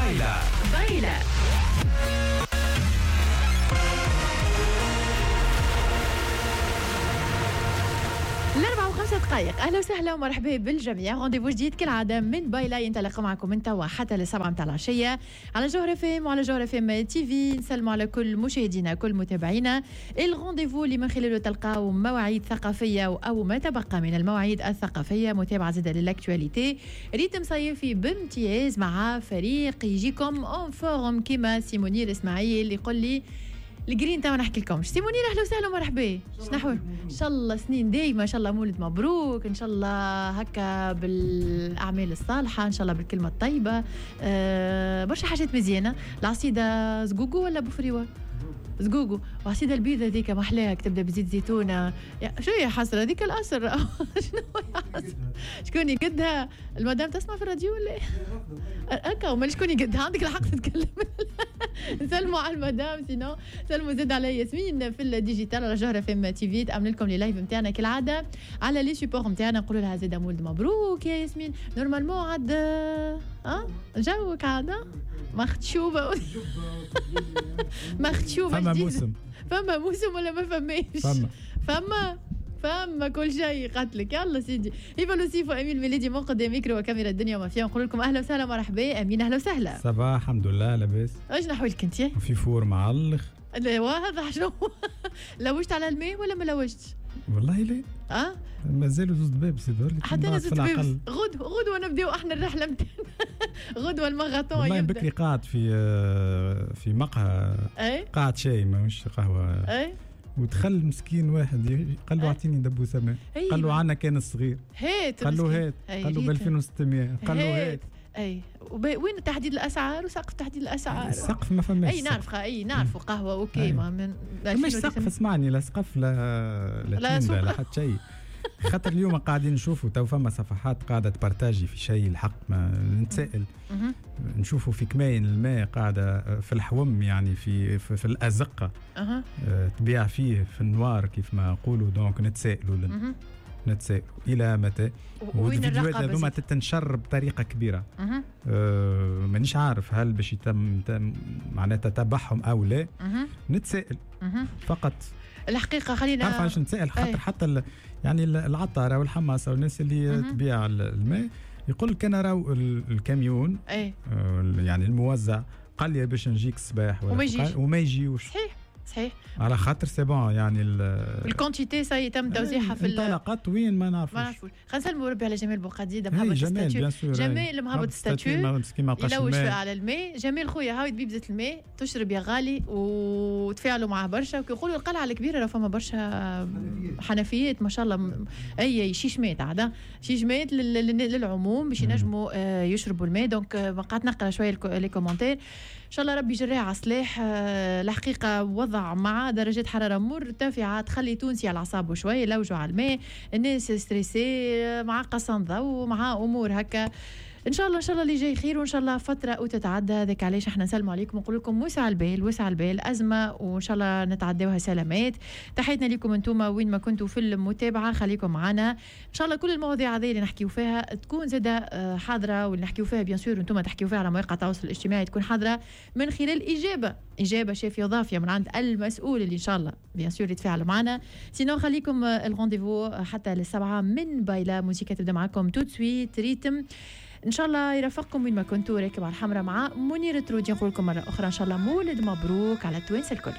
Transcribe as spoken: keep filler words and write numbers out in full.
بايلا بايلا. الأربعة وخمسة دقائق، أهلا وسهلا ومرحبا بالجميع. rendez-vous جديد كالعادة من بايلا ينطلق معكم من توا حتى للسبعة متاع العشية على جوهرة اف ام وعلى جوهرة اف ام تي في. نسلموا على كل مشاهدينا كل متابعينا. ال rendez-vous اللي من خلاله تلقاو مواعيد ثقافية أو ما تبقى من المواعيد الثقافية، متابعة زادة لل actualité، rythme صيفي بامتياز مع فريق يجيكم en forme كيما سي منير اسماعيل اللي يقول لي الجرين تاع نحكي لكم. سي منير اهلا وسهلا ومرحبا، شنو ان شاء الله سنين دايمه، ان شاء الله مولد مبروك، ان شاء الله هكا بالاعمال الصالحة، ان شاء الله بالكلمة الطيبة. أه برشا حاجات مزيانه. العصيده زقوقو ولا بوفريوه؟ زقوقو. وعصيده البيضة هذيك محلاها تبدا بزيت زيتونه. شو يا حسرة هذيك الاسر شنو يا حسرة؟ شكون يقدها؟ المدام تسمع في الراديو ولا ايه؟ هكا وما شكون يقدها؟ عندك الحق تتكلم. نسلموا على المدام، sinon سلموا زاد على ياسمين في ال digital على جوهرة اف ام تي في، تامن لكم les lives نتاعنا كالعادة على les supports نتاعنا. نقولوا لها زاد مولد مبروك يا ياسمين. normalement عاد اه جوك عاد مختشوبه مختشوبه فما موسم، فما موسم ولا ما فماش؟ فما فما فما كل شيء قتلك. يلا سيدي هبه لوسيف وامين ميليدي من قدام ميكرو وكاميرا الدنيا وما فيها. نقول لكم اهلا وسهلا مرحبا. امين اهلا وسهلا. صباح الحمد لله لاباس. اش نحوالك انت؟ في forme على الاخر. لا واضح شنو لوجت على الماء ولا ما لوجتش؟ والله لا. اه مازالوا زوز دباب سيدي. حتى انا زوز دباب. غدوه غدوه نبداو احنا الرحلة نتاعنا. غدوه الماراثون يبدا. والله بكري قاعد في في مقهى، قاعد شاي ماهوش قهوة. اي ودخل مسكين واحد قال له اعطيني دبوسه ماء، قال له عندنا كان الصغير، هات قال له هات، قال له ب ألفين وستمية، قال له هات. اي وين تحديد الاسعار وسقف تحديد الاسعار؟ السقف ما فماش. اي نعرف، اي نعرفوا قهوة OK ما من مش سقف. اسمعني، لا سقف لا لا لا, لا حتى شيء. خاطر اليوم قاعدين نشوفوا تو فما صفحات قاعدة تبارتاجي في شيء، الحق ما نتسائل. نشوفوا في كماين الماء قاعدة في الحوم، يعني في في, في الازقه أه. تبيع فيه في النوار كيف ما نقولوا. donc نتسائلوا نتسائلوا الى متى والفيديوهات هذوما تتنشر بطريقة كبيرة. أه مانيش عارف هل باش يتم معناتها تتبعهم او لا. نتسائل فقط الحقيقة. خلينا تعرف علاش نتسائل؟ خاطر حتى يعني العطاره والحماصه والناس اللي تبيع الماء يقول لك انا راهو الكاميون أي. يعني الموزع قال لي باش نجيك الصباح وما يجيش وما يجيوش. صحيح صحيح، على خاطر c'est bon يعني ال quantité ça y est تم توزيعها في انطلقت وين ما نعرفوش ما نعرفوش. خلينا نسلموا ربي على جمال بوقديده مهبط statut، جمال مهبط statut يلوج على الماء. جمال خويا هاوي بيبزة الماء تشرب يا غالي، وتفاعلوا معاه برشا. وكيقولوا القلعة الكبيرة راه فما برشا حنفيات ما شاء الله، اي شيشمات عاد شيشمات للعموم باش ينجموا يشربوا الماء. donc قعدت نقرا شوية les commentaires. ان شاء الله ربي يجريها على صلاح. الحقيقة وضع مع درجات حرارة مرتفعة تخلي تونسي على اعصابه شوية، لوجوا على الماء، الناس stressés مع قصان ضوء مع امور هكا. ان شاء الله ان شاء الله اللي جاي خير، وان شاء الله فترة وتتعدى. هذاك علاش احنا نسلموا عليكم ونقول لكم وسع البال وسع البال، ازمة وان شاء الله نتعداوها سلامات. تحياتنا لكم انتم وين ما كنتوا في المتابعة، خليكم معنا ان شاء الله. كل المواضيع هذه اللي نحكيو فيها تكون زاده حاضره، واللي نحكيو فيها bien sûr انتم تحكيو فيها على مواقع التواصل الاجتماعي تكون حاضره من خلال اجابه اجابه شافيه ضافيه من عند المسؤول اللي ان شاء الله bien sûr يتفاعلوا معنا. sinon خليكم ال rendez-vous حتى للسبعه من بايلا. موسيقى تبدا معكم tout de suite rythme ان شاء الله يرافقكم وين ما كنتوا. راكب على الحمراء مع منير ترودي. نقول لكم مرة اخرى ان شاء الله مولد مبروك على التوانسة الكل.